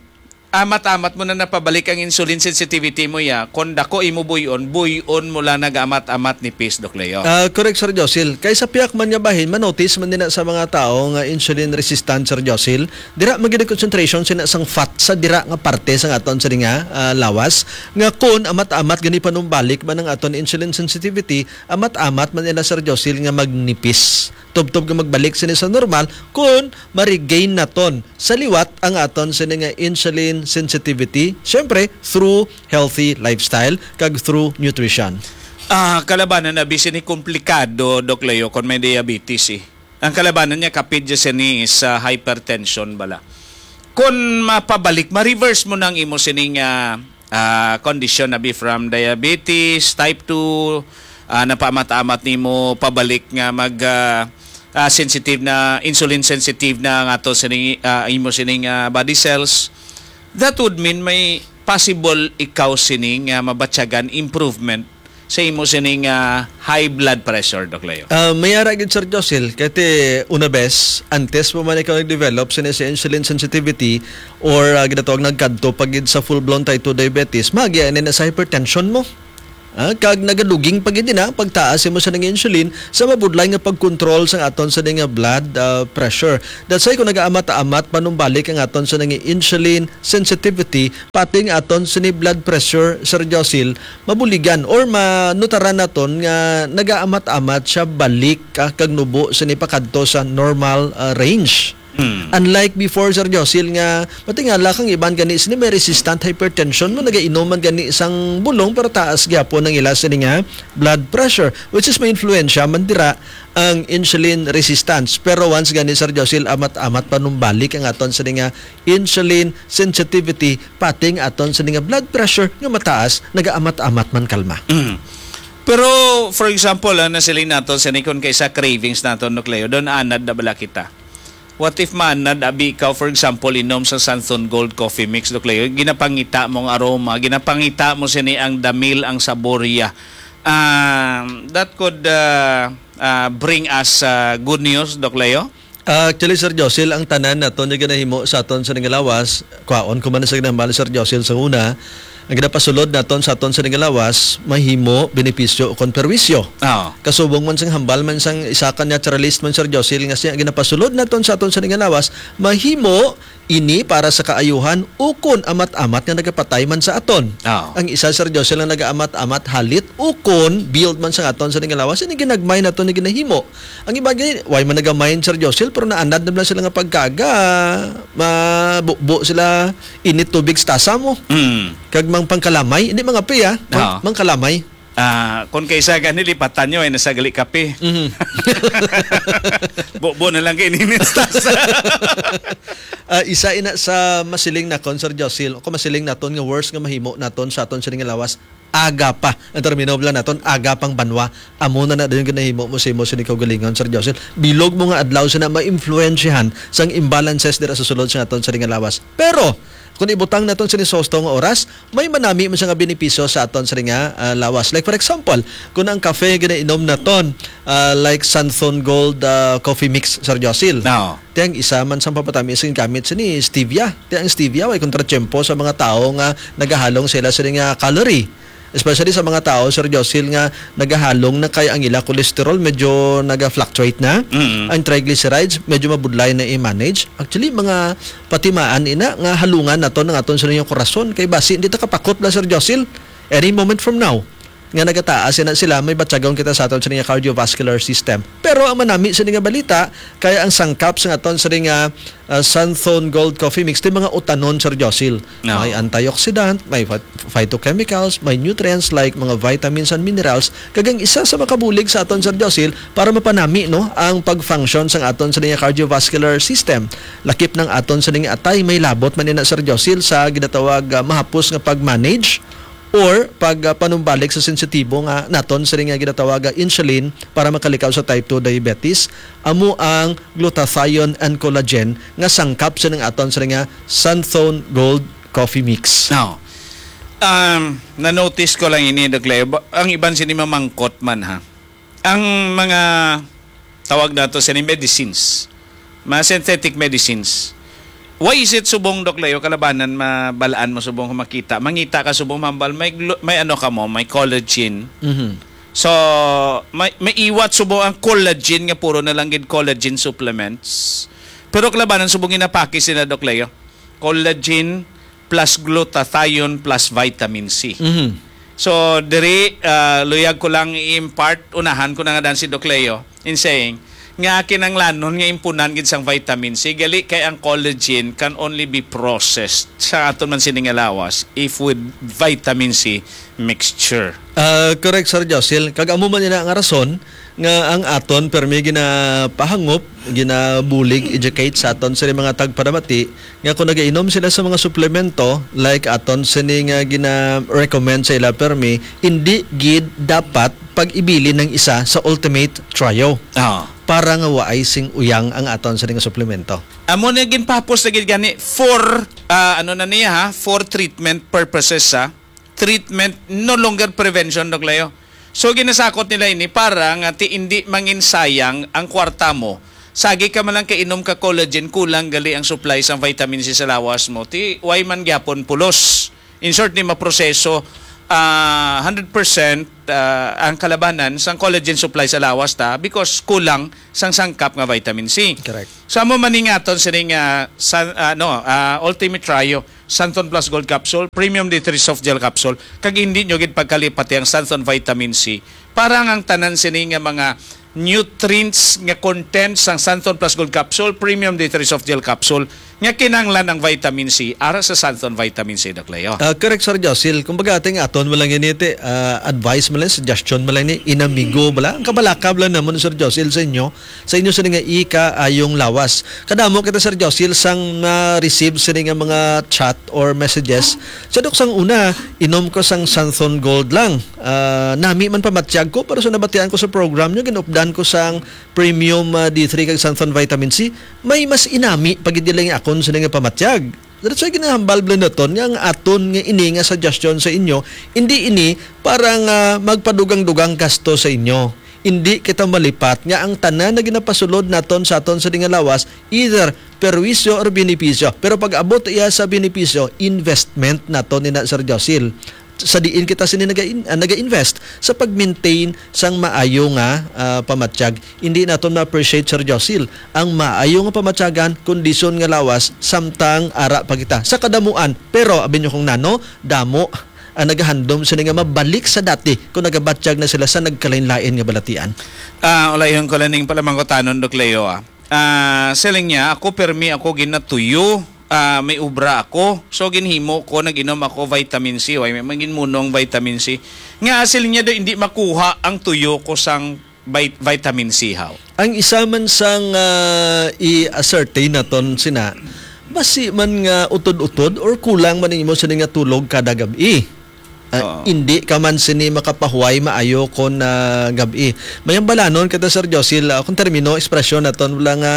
amat-amat mo na napabalik ang insulin sensitivity mo, ya, kon dako imo buyon, buyon mo lang nag-amat-amat nipis, Doc Leo. Ah, correct, Sir Josil. Kay sa piyak man nga bahin, manotice man din na sa mga tao nga insulin resistant, Sir Josil, dira man gid ang concentration sina sang fat sa dira nga parte sa aton sa nga ah, lawas, nga kun amat-amat gani panumbalik man ang aton insulin sensitivity, amat-amat man nila, Sir Josil, nga magnipis. Tubtob nga magbalik sini sa normal kun ma-regain naton sa liwat ang aton sini nga insulin sensitivity, syempre through healthy lifestyle kag through nutrition. Ah, kalabanan na bisan ni komplikado, Doc Leo, kon may diabetes eh. Ang kalabanan niya kapit dya sini sa hypertension bala. Kon mapabalik, ma-reverse mo nang imo sining ah, ah, condition na be from diabetes, type two, ah, napaamat-amat nimo pabalik nga mag ah, ah, sensitive na, insulin sensitive na nga to sining ah, imo sining ah, body cells. That would mean may possible ikaw sining nga mabatyagan improvement sa imo sining ah, high blood pressure, Doc Leo. Ah, may ara gid, Sir Josil, kay ti una bes, antes mo man ikaw nag-develop sini sa insulin sensitivity or ah, ginatawag nagkadto pa gid sa full-blown type two diabetes, magi na sa hypertension mo. Ah, kag nagaduging pa gid na pagtaas imo sa nga insulin sa mabudlay nga pagkontrol sa aton sa nga blood ah, pressure. That's why kung nagaamat-amat panumbalik ang aton sa nga insulin sensitivity, pati nga aton sini blood pressure, Sir Josil, mabuligan or manutaran naton nga nagaamat-amat siya balik ah, kag nubo sini pakadto sa normal ah, range. Hmm. Unlike before, Sir Josil, nga matingala kang iban gani sini may resistant hypertension mo, nagainom man gani sang bulong pero taas gyapon ang ila sini nga blood pressure, which is may influensya man dira ang insulin resistance. Pero once gani, Sir Josil, amat-amat panumbalik ang aton sini nga insulin sensitivity, pati nga aton sini nga blood pressure nga mataas, nagaamat-amat man kalma. Mm. Pero for example, ah, nasiling nato sini, kon kay sa cravings nato, Doc Leo, don anad na bala kita. What if maanad abi ikaw, for example, inom sa Santhon Gold Coffee Mix, Doc Leo, ginapangita mong aroma, ginapangita mo sini ang damil, ang saborya. Ah, that could ah, ah, bring us ah, good news, Doc Leo. Ah, actually, Sir Josil, ang tanan naton nga ginahimo sa aton sa nga lawas, kwaon ko man sa ginahambal ni Sir Josil sa una, ang ginapasulod naton sa aton sa nga lawas, mahimo, benepisyo, o kon perwisyo. Oo. Kasubong man sang hambal man sang isa ka naturalist man, Sir Josil, nga siya, ang ginapasulod naton sa aton sa nga lawas, mahimo ini para sa kaayuhan, ukon amat-amat nga nagapatay man sa aton. Oo. Ang isa, Sir Josil, nga nagaamat-amat, halit, ukon build man sa aton sa nga lawas, ini ginagmay naton nga ginahimo. Ang iba gani, way man nagamain, Sir Josil, pero naanad na lang sila nga pagkaga, mabubo sila, init tubig sa tasa mo. Mm. Kag mang pangkalamay, hindi mga piya, mang, Oo. mangkalamay. Ah, kung kaysa gani, lipatan nyo ay nasa gali kape. Mhm. Bubo na lang kay init sa tasa. Ah, isa ina sa masiling na kon, Sir Josil, o kung masiling naton nga worst nga mahimo naton sa aton sining lawas, aga pa. Ang termino lang naton, aga pang banwa. Amo na na dayon ginahimo mo sa imo sini kaugalingon, Sir Josil. Bilog mo nga adlaw sina maimpluwensyahan sang imbalances dira sa sulod sa aton sini nga lawas. Pero, kung ibutang naton sini sa husto nga oras, may manami man siya nga benepisyo sa aton sini nga, ah, lawas. Like, for example, kung ang kafe ginainom naton, ah, like Santhon Gold, ah, Coffee Mix, Sir Josil. No. Ti ang isa man sang papatamis nga gamit sini, stevia. Ti ang stevia, way kontratiyempo sa mga tawo nga nagahalong sila sini nga calorie. Especially sa mga tao, Sir Josil, nga nagahalong na kay ang ila cholesterol medyo naga-fluctuate na. Mm. Ang triglycerides, medyo mabudlay na i-manage. Actually, mga patimaan ina nga halungan naton ang aton sa inyong korason. Kay basi, hindi ta kapakot na, Sir Josil. Any moment from now, nga nagataas na sila, may batyagon kita sa aton sa inyong cardiovascular system. Pero ang manami sa nga balita, kaya ang sangkap sa aton sa nga, ah, Santhon Gold Coffee Mix, ti mga utanon, Sir Josil. No. May antioxidant, may phyt-, phytochemicals, may nutrients like mga vitamins and minerals, kag ang isa sa makabulig sa aton, Sir Josil, para mapanami, no, ang pag-function sang aton sa nga cardiovascular system. Lakip ng aton sa nga atay, may labot man ina, Sir Josil, sa ginatawag, ah, mahapos nga pag-manage or pag, ah, panumbalik sa sensitibo nga naton sa nga ginatawag, ah, insulin para makalikaw sa type two diabetes, amo ang glutathione and collagen nga sangkap sa nga aton sa nga Santhon Gold Coffee Mix. Now, um, na-notice ko lang ini, Doc Leo. Ba-, ang iban sini mamangkot man, ha. Ang mga tawag nato sini medicines, mga synthetic medicines. Why is it subong, Doc Leo, kalabanan mabalaan mo subong kung makita? Mangita ka subong mambal, may glu-, may ano ka mo, may collagen. Mhm. So, may, may iwat subong ang collagen nga puro na lang gid collagen supplements. Pero kalabanan subong ginapakis sila, Doc Leo. Collagen plus glutathione plus vitamin C. Mhm. So, diri, ah, luyag ko lang i-impart, unahan ko na nga dan si Doc Leo in saying, nga kinanglanon nga impunan gid sang vitamin C, gali kay ang collagen can only be processed sa aton man sini nga lawas if with vitamin C mixture. Ah, correct, Sir Josil. Kag amo man ina nga rason nga ang aton permi ginapahangop, ginabulig, educate sa aton sa mga tagparamati nga kung nagainom sila sa mga suplemento, like aton sini nga gina-recommend sa ila permi, hindi gid dapat pag-ibilin ng isa sa ultimate trio. Ah. Para nga waay sing uyang ang aton sa nga suplemento. Amo na ginpapos na gid gani for, ah, ano na niya ha, for treatment purposes ha. Treatment, no longer prevention, Doc Leo. So, ginasakot nila ini para nga ti hindi manginsayang ang kwarta mo. Sagi ka man lang kainom ka collagen, kulang gali ang supply sang vitamin C sa lawas mo. Ti, way man gyapon pulos. In short, di maproseso, ah, hundred percent, ah, ang kalabanan sang collagen supply sa lawas ta because kulang sang sangkap nga vitamin C. Correct. So, amo man ni nga aton sining, ah, san-, ah, no, ah, Ultimate Trio, Santon Plus Gold Capsule, Premium D three Soft Gel Capsule, kag hindi nyo gid pagkalipati ang Santon Vitamin C. Para ang tanan sini nga mga nutrients nga content sang Santon Plus Gold Capsule, Premium D three Soft Gel Capsule, nga kinahanglan ang vitamin C, ara sa Santon Vitamin C, Doc Leo. Ah, correct, Sir Josil. Kumbaga, ating aton mo lang ini, te, ah, advice mo lang, suggestion mo lang ni, inamigo mo lang. Ang kabalaka mo lang naman, Sir Josil, sa inyo, sa inyo sa nga ikaayong lawas. Kadamo kita, Sir Josil, sang na-receive sini nga mga chat or messages. Sa dok sang una, inom ko sang Santhon Gold lang. Ah, nami man pamatyag ko, pero sa nabatian ko sa program nyo, ginupdan ko sang premium, ah, D three kag Santhon Vitamin C. May mas inami pag hindi lang akon sa nga pamatyag. That's why ginahambal bala naton nga ang aton nga ini nga suggestion sa inyo, hindi ini para nga magpadugang-dugang gasto sa inyo. indi kita malipat nga ang tanan na ginapasulod naton sa aton sa dinga lawas, either perwisyo or benepisyo. Pero pag abot iya sa benepisyo, investment naton ina, Sir Josil. Sa diin kita sini naga-in-, ah, naga-invest sa pag-maintain sang maayo nga, ah, pamatyag. Hindi naton ma-appreciate, Sir Josil, ang maayo nga pamatyagan, kondisyon nga lawas, samtang ara pa kita sa kadamuan. Pero abi nyo kung nano, damo ang nagahandom sini nga mabalik sa dati kung nagabatyag na sila sa nagkalain-lain nga balatian. Ah, ulayhon ko lang ning palamangkutanon, Doc Leo, ah. Ah, siling niya, "Ako, permi ako ginatuyo. Ah, may obra ako. So, ginhimo ko, nag-inom ako vitamin C. Way, may, may ginmunong vitamin C." Nga, siling niya daw, hindi makuha ang tuyo ko sang vit-, vitamin C, haw. Ang isa man sang, ah, i-ascertain naton sina, basi man nga utod-utod or kulang man ang imo sini nga tulog kada gab-i. Ah, Oo. Hindi ka man sini makapahuway maayo kon, ah, gab-i. May ang balanon kita, Sir Josil, ah, kung termino, ekspresyon naton, wala nga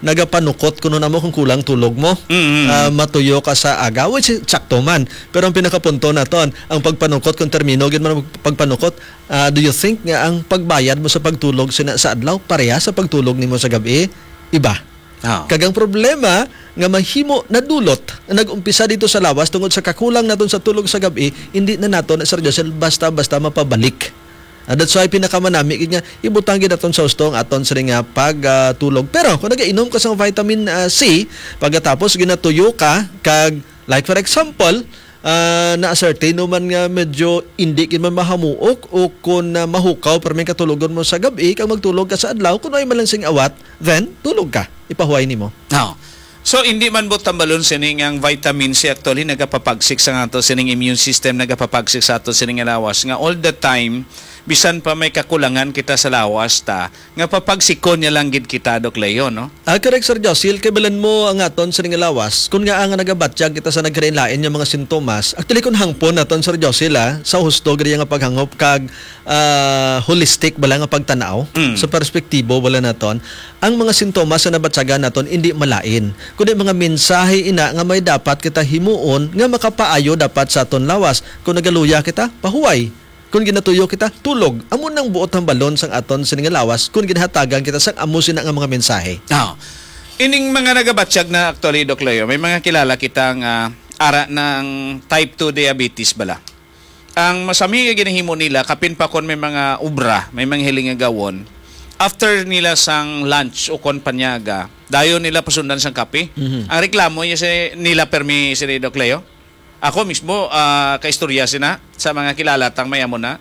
nagapanukot kuno namo kung kulang tulog mo. Mm-hmm. Ah, matuyo ka sa aga, which is sakto man. Pero ang pinakapunto naton, ang pagpanukot, kung termino gid man ang pagpanukot, ah, do you think nga ang pagbayad mo sa pagtulog sina-, sa adlaw pareha sa pagtulog nimo sa gab-i? Iba. Ah. Kag ang problema nga mahimo nadulot, nag-umpisa dito sa lawas tungod sa kakulang naton sa tulog sa gab-i, hindi na nato na, Sir Josel, basta-basta mapabalik. Ah, that's why pinakamanami gid nga ibutang gid naton sa husto ang aton sini nga pag, ah, tulog. Pero kung nagainom ka sa vitamin, ah, C, pagkatapos ginatuyo ka, kag, like, for example, ah, na-ascertain mo man nga medyo indi gid man mahamuok o kon, ah, mahukaw, pero may katulogon mo sa gab-i, kag magtulog ka sa adlaw, kung ay man lang sing awat, then tulog ka. Ipahuway nimo. Oh. So, hindi man buot tambalon sini nga ang vitamin C actually nagapapagsik sa ato sining immune system, nagapapagsik sa ato sining lawas nga all the time, bisan pa may kakulangan kita sa lawas ta, nga papagsikon niya lang gid kita, Doc Leo, no? Ah, correct, Sir Josil. Kay balan mo ang aton sining lawas. Kung nga ang nagabatyag kita sa nagkalain-lain nga mga sintomas, actually, kung hangpon naton, Sir Josil, ah, sa husto gid nga paghangop kag, ah, holistic bala nga pagtanaw, Mm. sa perspektibo bala naton, ang mga sintomas sa nabatyagan naton hindi malain, kundi mga mensahe ina nga may dapat kita himuon nga makapaayo dapat sa aton lawas. Kung nagaluya kita, pahuway. Kung ginatuyo kita, tulog. Amo nang buot hambalon sang aton sini nga lawas kung ginhatagan kita sang amo sina nga mga mensahe. Ah. Ining mga nagabatyag na actually, Doc Leo, may mga kilala kita nga ara ng type two diabetes bala. Ang masami nga ginahimo nila, kapin pa kon may mga obra, may mga hiling nga gawon, after nila sang lunch o kon panyaga, dayon nila pasundan sang kape. Mhm. Ang reklamo niya si, nila permi si Doc Leo. Ako mismo, ah, kaistorya sina sa mga kilala tang may amo na.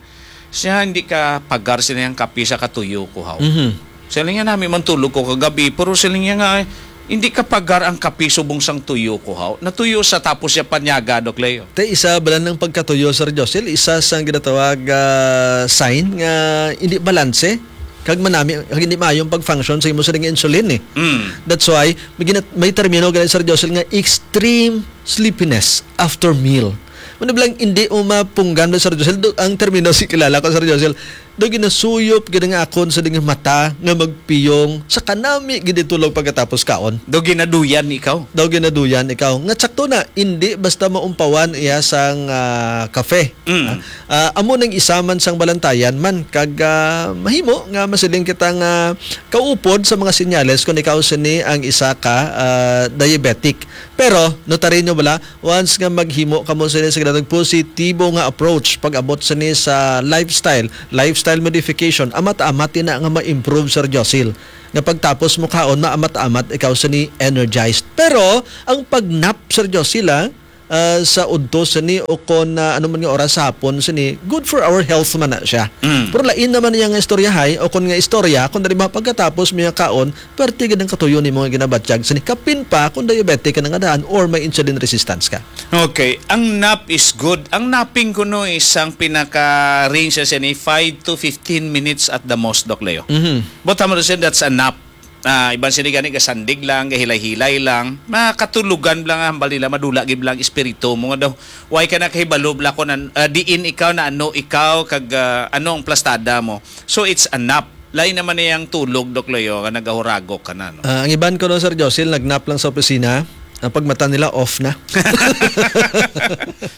Siya, "Hindi ka pagar sina ang kape sa katuyo ko, haw." Mhm. Siling niya, "Nami man tulog ko kagabi, pero," siling niya nga, "hindi ka pagar ang kape subong sang tuyo ko, haw." Natuyo sa tapos siya panyaga, Doc Leo. Te, isa bala ng pagkatuyo, Sir Josel, isa sang ginatawag, ah, sign nga hindi balanse. Kag manami, kag hindi maayong pag-function sa imo sining insulin, eh. Mm. That's why, may gina-, may termino gani, Sir Josel, nga extreme sleepiness after meal. Ano bala ang hindi mo mapunggan na, Sir Josel? Do, ang termino si kilala ko, Sir Josel, do ginasuyop gid nga akon sa ding mata nga magpiyong sa kanami gid tulog pagkatapos kaon. Do ginaduyan ikaw? Do ginaduyan ikaw. Nga sakto na, hindi basta maumpawan iya sang, ah, kafe. Mm. Ah, ah, amo nang isa man sang balantayan man kag, ah, mahimo nga masiling kita nga kaupod sa mga senyales kung ikaw sini ang isa ka, ah, diabetic. Pero notaryo bala, once nga maghimo kamo sini sa ginatawag positibo nga approach pag-abot sini sa lifestyle, lifestyle modification, amat-amat ina nga ma-improve, Sir Josil. Nga pagtapos mo kaon, maamat-amat ikaw sini energized. Pero ang pag-nap, Sir Josil, ah, ah, sa udto sini o kon, ah, ano man nga oras sa hapon sini, good for our health man na siya. Mm. Pero lain naman niya nga istoryahay o kon nga istorya, kung dali ba pagkatapos mo nga kaon, perti gid ang katuyo nimo nga ginabatyag sini. Kapin pa kung diabetic ka na nga daan or may insulin resistance ka. Okay. Ang nap is good. Ang napping kuno isang pinaka-range sa sini, five to fifteen minutes at the most, Doc Leo. Mhm. But I'm saying that's a nap. Ah, iban sini gani gasandig lang, gahilay-hilay lang. Makatulugan lang ang hambal nila, madula gid lang espiritu mo nga daw. Way ka nakahibalo bala kung an-, ah, diin ikaw, na ano ikaw, kag, ah, ano ang plastada mo. So, it's a nap. Lain naman niyang tulog, Doc Leo, nga nagahuragok ka na, no? Ah, ang iban ko, no, Sir Josil, nag-nap lang sa opisina. Ang pagmata nila, off na.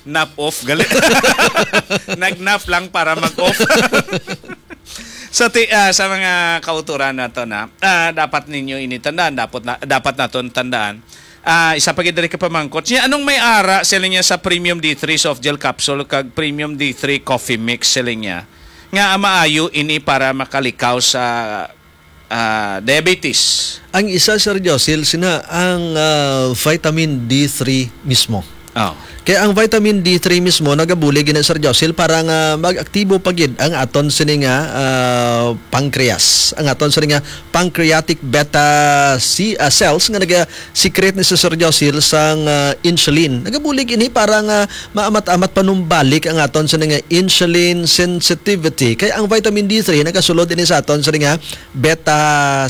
Nap off, gali. Nag-nap lang para mag-off. Sa ti-, ah, sa mga kauturan nato na, ah, dapat ninyo ini tandaan, dapat na, dapat naton tandaan. Ah, isa pa gid diri ka pamangkot. Siya, anong may ara sila niya sa Premium D three soft gel capsule kag Premium D three coffee mix sila niya? Nga maayo ini para makalikaw sa, ah, diabetes. Ang isa, Sir Josil, sina ang, ah, vitamin D three mismo. Oh. Kaya ang vitamin D three mismo nagabulig gina, Sir Josil, para nga mag-aktibo pa gid ang aton sini nga, ah, pancreas, ang aton sini nga pancreatic beta C, ah, cells nga naga-secrete ni, Sir Josil, sang, ah, insulin. Nagabulig ini para nga maamat-amat panumbalik ang aton sini nga insulin sensitivity. Kaya ang vitamin D three nagasulod ini sa aton sini nga beta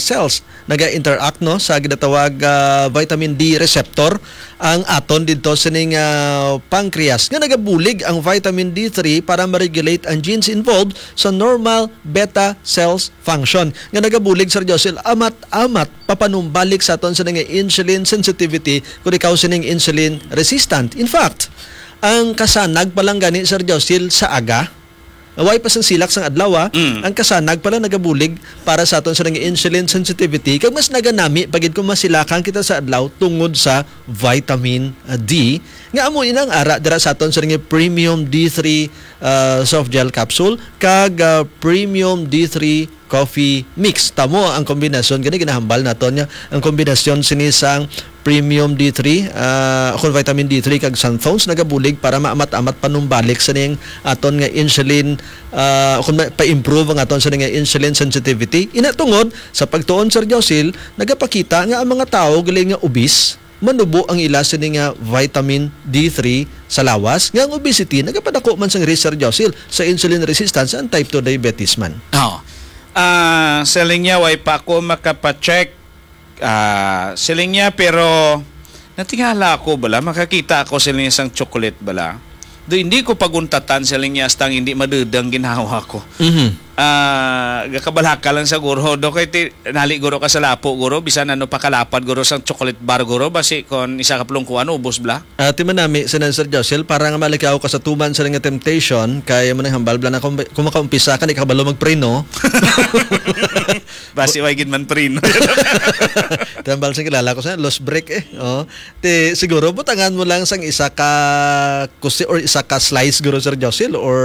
cells, naga-interact, no, sa ginatawag, ah, vitamin D receptor ang aton didto sining, ah, pancreas, nga nagabulig ang vitamin D three para ma-regulate ang genes involved sa normal beta cells function, nga nagabulig, Sir Josil, amat-amat papanumbalik sa aton sining insulin sensitivity, kung ikaw sining insulin resistant. In fact, ang kasanag pa lang gani, Sir Josil, sa aga, way pa sang silak sang adlaw, ah, Mm. ang kasanag pala nagabulig para sa aton sa nga insulin sensitivity, kag mas naganami pa gid kung masilakan kita sa adlaw tungod sa vitamin, ah, D, nga amo ina ang ara dira sa aton sa nga premium D three, ah, soft gel capsule kag, ah, premium D three coffee mix. Tamo ang kombinasyon gani ginahambal naton nga ang kombinasyon sini sang premium D three, ah, kon vitamin D three kag xanthones nagabulig para maamat-amat panumbalik sa ning aton nga insulin, ah, kon ma-, pa-improve ang aton sa nga insulin sensitivity. Ina tungod sa pagtuon, Sir Josil, nagapakita nga ang mga tawo gali nga obese, manubo ang ila sini nga vitamin D three sa lawas, nga ang obesity nagapadako man sang risk, Sir Josil, sa insulin resistance and type two diabetes man. Oh. Ah, siling niya, way pa ako makapacheck. Ah, siling niya, pero natingala ako bala, makakita ako siling niya sang chocolate bala. Do hindi ko paguntatan siling niya, hasta ang hindi madudang ginhawa ko. Mhm. Ah, gakabalaka lang sa guro. Do kay ti-, nali guro ka sa lapo, guro, bisan ano pakalapad, guro, sang chocolate bar, guro, basi kon isa ka plungkuan, ubos bala. Ah, ti manami, sinan Sir Josel, para nga malikaw ka sa tuman sa nga temptation, kay mo nang hambal bala na kung, kung makaumpisa ka, di ka kabalo magpreno. Basi way gid man preno. Tambal sa kilala ko sa lost break eh. Oh. Ti siguro butangan mo lang sang isa ka kusi or isa ka slice guro, Sir Josel, or,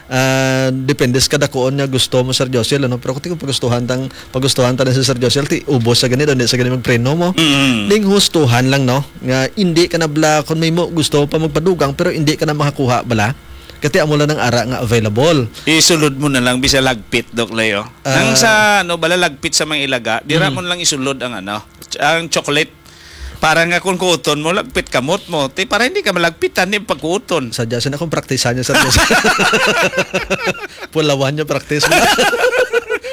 ah, depende sa kadakuon nga gusto mo, Sir Josel, ano? Pero kung pagustuhan tang pagustuhan ta na si Sir Josel, ti ubos sa gani daw, di sa gani magpreno mo. Mm. Ning hustuhan lang, no? Nga hindi ka na bala, kung may mo gusto pa magpadugang pero hindi ka na makakuha bala. Kati amo lang ang ara nga available. Isulod mo na lang bisa lagpit, Doc Leo. Ah. Nang sa, ano, bala lagpit sa mga ilaga, dira Mm. mo na lang isulod ang, ano, ch-, ang chocolate. Para nga kung kuuton mo, lagpit kamot mo. Ti, para hindi ka malagpitan, di pagkuuton. Sadya, sina kung praktisan niya, Sir Josel. Pulawan niya practice mo.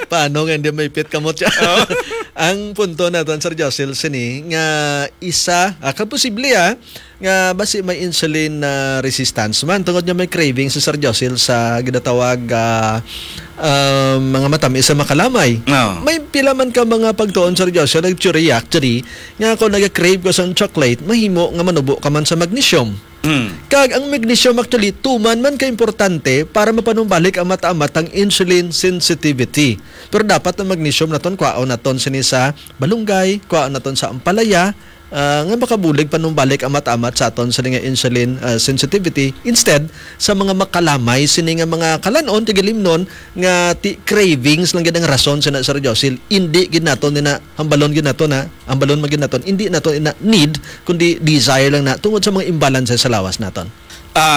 Paano nga hindi maipit kamot siya? Oo. Ang punto naton, Sir Josel, sini, nga isa, ah, kaposible, ah, nga basi may insulin na resistance man. Tungod nga may craving si Sir Josel sa ginatawag, ah, ah, mga matamis sa makalamay. Oo. May pila man ka mga pagtuon, Sir Josel, nag-theory actually, nga kung nag-crave ka sa chocolate, mahimo nga manubo ka man sa magnesium. Mm. Kag ang magnesium actually, tuman man ka importante para mapanumbalik ang mata-, matang insulin sensitivity. Pero dapat ang magnesium naton, kwaon naton sini sa balunggay, kwaon naton sa ampalaya, ah, nga makabulig panumbalik ang mata-, amat sa aton sini nga insulin, ah, sensitivity. Instead, sa mga makalamay sini nga mga kalanon, tigilimnon, nga ti-, cravings lang gid ang rason sina, Sir Josil. Hindi gid naton nina, hambalon gid naton na, hambalon man gid naton, hindi naton ina need, kundi desire lang na tungod sa mga imbalance sa lawas naton. Ah,